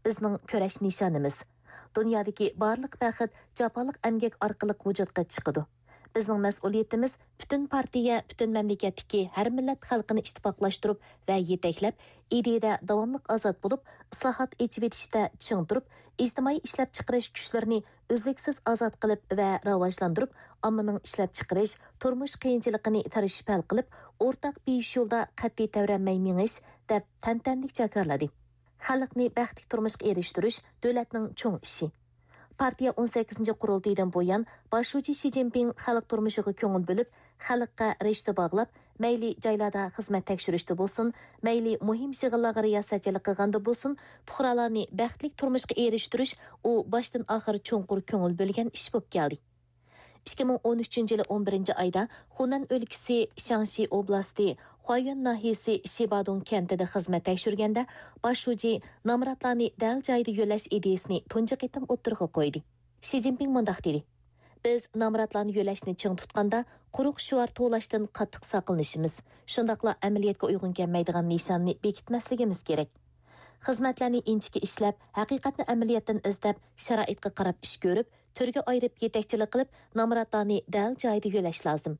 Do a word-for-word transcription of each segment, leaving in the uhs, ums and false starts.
بىزنىڭ كۈرەش نىشانىمىز. دۇنيادىكى بارلىق بەخت جاپالىق ئەمگەك ئارقىلىق ۋۇجۇدقا چىقىدۇ. بىزنىڭ مەسئۇلىيىتىمىز پۈتۈن پارتىيە، پۈتۈن مەملىكەتتىكى ھەر مىللەت خەلقىنى ئىتتىپاقلاشتۇرۇپ ۋە يېتەكلەپ، ئىدىيەدە داۋاملىق ئازاد بولۇپ، ئىسلاھات، ئېچىۋېتىشتە چىڭ تۇرۇپ، ئىجتىمائىي ئىشلەپچىقىرىش كۈچلىرىنى ئۈزلۈكسىز ئازاد قىلىپ ۋە راۋاجلاندۇرۇپ، ئاممىنىڭ ئىشلەپچىقىرىش، تۇرمۇش قىيىنچىلىقىنى تىرىشىپ ھەل قىلىپ، ئورتاق بېيىش يولىدا قەتئىي تەۋرەنمەي مېڭىش، دەپ تەنتەنىلىك جاكارلىدى. خەلقنى بەختلىك تۇرمۇشقا ئېرىشتۈرۈش دۆلەتنىڭ چوڭ ئىشى. پارتىيە ئون سەككىزىنچى قۇرۇلتىيىدىن بۇيان، باش شۇجى شى جىنپىڭ خەلق تۇرمۇشىغا كۆڭۈل بۆلۈپ، خەلققە رىشتە باغلاپ، مەيلى جايلاردا خىزمەت تەكشۈرۈشتە بولسۇن، مەيلى مۇھىم يىغىنلارغا رىياسەتچىلىك قىلغاندا بولسۇن، پۇقرالارنى بەختلىك تۇرمۇشقا ئېرىشتۈرۈش ئۇ باشتىن ئاخىر چوڭقۇر كۆڭۈل بۆلگەن ئىش بولۇپ كەلدى. ئىككى مىڭ ئون ئۈچىنچى يىلى ئون بىرىنچى ئايدا خۇنەن ئۆلكىسى شياڭشى ئوبلاستى خۇايۈەن ناھىيەسى شىبادۇڭ كەنتىدە خىزمەت تەكشۈرگەندە، باش شۇجى نامراتلارنى دەل جايىدا يۆلەش ئىدىيىسىنى تۇنجى قېتىم ئوتتۇرىغا قويدى. شى جىنپىڭ مۇنداق دېدى: بىز نامراتلارنى يۆلەشنى چىڭ تۇتقاندا، قۇرۇق شوئار توۋلاشتىن قاتتىق ساقلىنىشىمىز، شۇنداقلا ئەمەلىيەتكە ئۇيغۇن كەلمەيدىغان نىشاننى بېكىتمەسلىكىمىز كېرەك. خىزمەتلەرنى ئىنچىكە ئىشلەپ، ھەقىقەتنى ئەمەلىيەتتىن ئىزدەپ، شارائىتقا قاراپ ئىش كۆرۈپ، تۈرگە ئايرىپ يېتەكچىلىك قىلىپ، نامراتلارنى دەل جايىدا يۆلەش لازىم.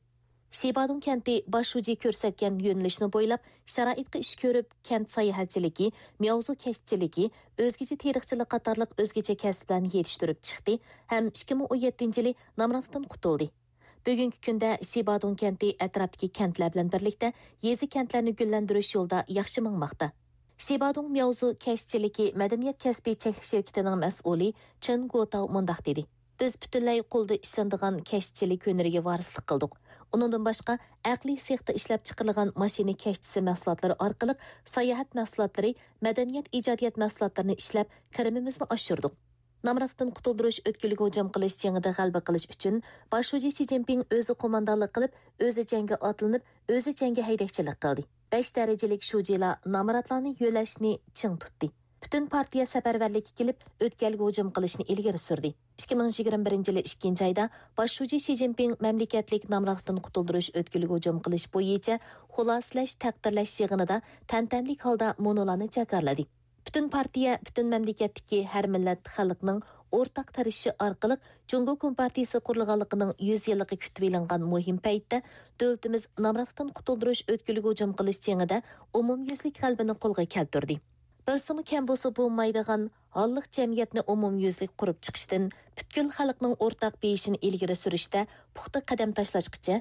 شىبادۇڭ كەنتى باش شۇجى كۆرسەتكەن يۆنىلىشنى بويلاپ، شارائىتقا ئىش كۆرۈپ، كەنت ساياھەتچىلىكى، مياۋزۇ كەشتىچىلىكى، ئۆزگىچە تېرىقچىلىق قاتارلىق ئۆزگىچە كەسىپلەرنى يېتىشتۈرۈپ چىقتى ھەم ئىككى مىڭ ئون يەتتىنچى يىلى نامراتلىقتىن قۇتۇلدى. بۈگۈنكى كۈندە شىبادۇڭ كەنتى ئەتراپتىكى كەنتلەر بىلەن بىرلىكتە يېزا، كەنتلەرنى گۈللەندۈرۈش يولىدا ياخشى ماڭماقتا. شىبادۇڭ مياۋزۇ كەشتىچىلىكى مەدەنىيەت كەسپىي چەكلىك شىركىتىنىڭ مەسئۇلى چېن گوتاۋ مۇنداق دېدى: بىز پۈتۈنلەي قولدا ئىشلىنىدىغان كەشتىچىلىك ھۈنىرىگە ۋارىسلىق قىلدۇق. ئۇنىڭدىن باشقا، ئەقلىي سېختا ئىشلەپچىقىرىلغان ماشىنا كەشتىسى مەھسۇلاتلىرى ئارقىلىق ساياھەت مەھسۇلاتلىرى، مەدەنىيەت، ئىجادىيەت مەھسۇلاتلىرىنى ئىشلەپ، كىرىمىمىزنى ئاشۇردۇق. نامراتلىقتىن قۇتۇلدۇرۇش ئۆتكىلىگە ھۇجۇم قىلىش جېڭىدە غەلىبە قىلىش ئۈچۈن، باش شۇجى شى جىنپىڭ ئۆزى قوماندانلىق قىلىپ، ئۆزى جەڭگە ئاتلىنىپ، ئۆزى جەڭگە ھەيدەكچىلىك قىلدى. بەش دەرىجىلىك شۇجىلار نامراتلارنى يۆلەشنى چىڭ تۇتتى. پۈتۈن پارتىيە سەپەرۋەرلىككە كېلىپ، ئۆتكەلگە ھۇجۇم قىلىشنى ئىلگىرى سۈردى. ئىككى مىڭ يىگىرمە بىرىنچى يىلى ئىككىنچى ئايدا باش شۇجى شى جىنپىڭ مەملىكەتلىك نامراتلىقتىن قۇتۇلدۇرۇش ئۆتكىلىگە ھۇجۇم قىلىش بويىچە خۇلاسىلەش، تەقدىرلەش يىغىنىدا تەنتەنىلىك ھالدا مۇنۇلارنى جاكارلىدى: پۈتۈن پارتىيە، پۈتۈن مەملىكەتتىكى ھەر مىللەت خەلقنىڭ ئورتاق تىرىشىشى ئارقىلىق جۇڭگو كومپارتىيىسى قۇرۇلغانلىقىنىڭ يۈز يىللىقى كۈتۈۋېلىنغان مۇھىم پەيتتە، دۆلىتىمىز نامراتلىقتىن قۇتۇلدۇرۇش ئۆتكىلىگە ھۇجۇم قىلىش جېڭىدە ئومۇميۈزلۈك غەلىبىنى قولغا كەلتۈردى. بىرسىمۇ كەم بولسا بولمايدىغان ھاللىق جەمئىيەتنى ئومۇميۈزلۈك قۇرۇپ چىقىشتىن، پۈتكۈل خەلقنىڭ ئورتاق بېيىشىنى ئىلگىرى سۈرۈشتە پۇختا قەدەم تاشلاشقىچە،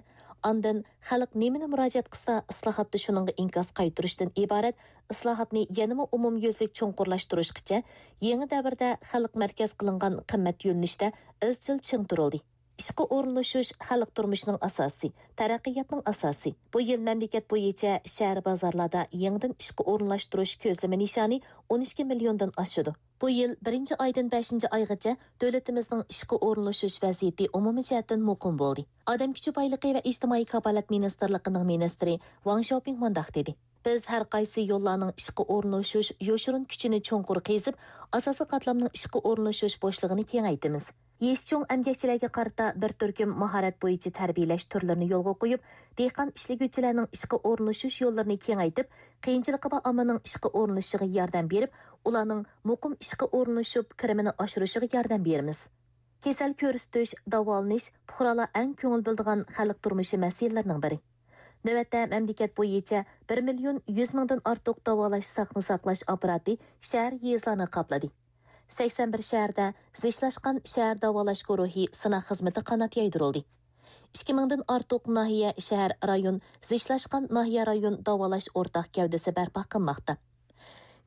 ئاندىن خەلق نېمىنى مۇراجىئەت قىلسا، ئىسلاھاتتا شۇنىڭغا ئىنكاس قايتۇرۇشتىن ئىبارەت ئىسلاھاتنى يەنىمۇ ئومۇميۈزلۈك چوڭقۇرلاشتۇرۇشقىچە، يېڭى دەۋردە خەلق مەركەز قىلىنغان قىممەت يۆنىلىشتە ئىزچىل چىڭ تۇرۇلدى. ئىشقا ئورۇنلىشىش خەلق تۇرمۇشىنىڭ ئاساسى، تەرەققىياتنىڭ ئاساسى. بۇ يىل مەملىكەت بويىچە شەھەر، بازارلاردا يېڭىدىن ئىشقا ئورۇنلاشتۇرۇش كۆزلىمە نىشانى ئون ئىككى مىليوندىن ئاشىدۇ. بۇ يىل بىرىنچى ئايدىن بەشىنچى ئايغىچە دۆلىتىمىزنىڭ ئىشقا ئورۇنلىشىش ۋەزىيىتى ئومۇمىي جەھەتتىن مۇقىم بولدى. ئادەم كۈچى بايلىقى ۋە ئىجتىمائىي كاپالەت مىنىستىرلىقىنىڭ مىنىستىرى ۋاڭ شياۋپىڭ مۇنداق دېدى: بىز ھەر قايسى يوللارنىڭ ئىشقا ئورۇنلىشىش يوشۇرۇن كۈچىنى چوڭقۇر قېزىپ، ئاساسىي قاتلامنىڭ ئىشقا ئورۇنلىشىش بوشلۇقىنى كېڭەيتىمىز. يېشى چوڭ ئەمگەكچىلەرگە قارىتا بىر تۈركۈم ماھارەت بويىچە تەربىيەلەش تۈرلىرىنى يولغا قويۇپ، دېھقان ئىشلىگۈچىلەرنىڭ ئىشقا ئورۇنلىشىش يوللىرىنى كېڭەيتىپ، قىيىنچىلىقى بار ئاممىنىڭ ئىشقا ئورۇنلىشىشىغا ياردەم بېرىپ، ئۇلارنىڭ مۇقىم ئىشقا ئورۇنلىشىپ، كىرىمىنى ئاشۇرۇشىغا ياردەم بېرىمىز. كېسەل كۆرسىتىش، داۋالىنىش پۇقرالار ئەڭ كۆڭۈل بۆلىدىغان خەلق تۇرمۇشى مەسىلىلىرىنىڭ بىرى. نۆۋەتتە مەملىكەت بويىچە بىر مىليون يۈز مىڭدىن ئارتۇق داۋالاش، ساقنى ساقلاش ئاپپاراتى شەھەر، يېزىلارنى قاپلىدى. سەكسەن بىر شەھەردە زىچلاشقان شەھەر داۋالاش گۇرۇھى سىناق خىزمىتى قانات يايدۇرۇلدى. ئىككى مىڭدىن ئارتۇق ناھىيە، شەھەر، رايون زىچلاشقان ناھىيە، رايون داۋالاش ئورتاق گەۋدىسى بەرپا قىلماقتا.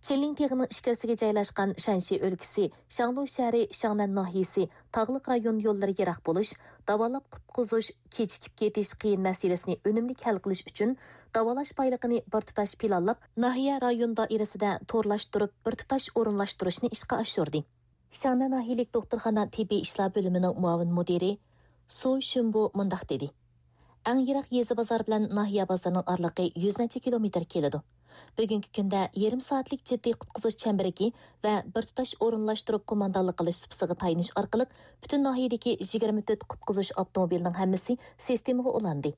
چىنلىڭ تېغىنىڭ ئىچكىرىسىگە جايلاشقان شەنشى ئۆلكىسى شاڭلۇ شەھىرى شاڭنەن ناھىيەسى تاغلىق رايون يوللىرى يىراق بولۇش، داۋالاپ قۇتقۇزۇش، كېچىكىپ كېتىش قىيىن مەسىلىسىنى ئۈنۈملۈك ھەل قىلىش ئۈچۈن، داۋالاش بايلىقىنى بىر تۇتاش پىلانلاپ، ناھىيە، رايون دائىرىسىدە تورلاشتۇرۇپ، بىر تۇتاش ئورۇنلاشتۇرۇشنى ئىشقا ئاشۇردى. شاڭنەن ناھىيەلىك دوختۇرخانا تېببىي ئىشلار بۆلۈمىنىڭ مۇئاۋىن مۇدىرى سۇ شۈنبۇ مۇنداق دېدى: ئەڭ يىراق يېزا بازار بىلەن ناھىيە بازىرىنىڭ ئارىلىقى يۈز نەچچە كىلومېتىر كېلىدۇ. بۈگۈنكى كۈندە يېرىم سائەتلىك جىددىي قۇتقۇزۇش چەمبىرىكى ۋە بىر تۇتاش ئورۇنلاشتۇرۇپ قوماندانلىق قىلىش سۇپىسىغا تايىنىش ئارقىلىق پۈتۈن ناھىيەدىكى يىگىرمە تۆت قۇتقۇزۇش ئاپتوموبىلىنىڭ ھەممىسى سىستېمىغا ئۇلاندى.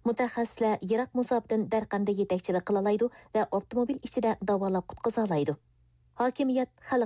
مۇتەخەسسىسلەر يىراق مۇساپىدىن دەرقەمدە يېتەكچىلىك قىلالايدۇ ۋە ئاپتوموبىل ئىچىدە داۋالاپ قۇتقۇزالايدۇ. ھاكىمىيەت خەلق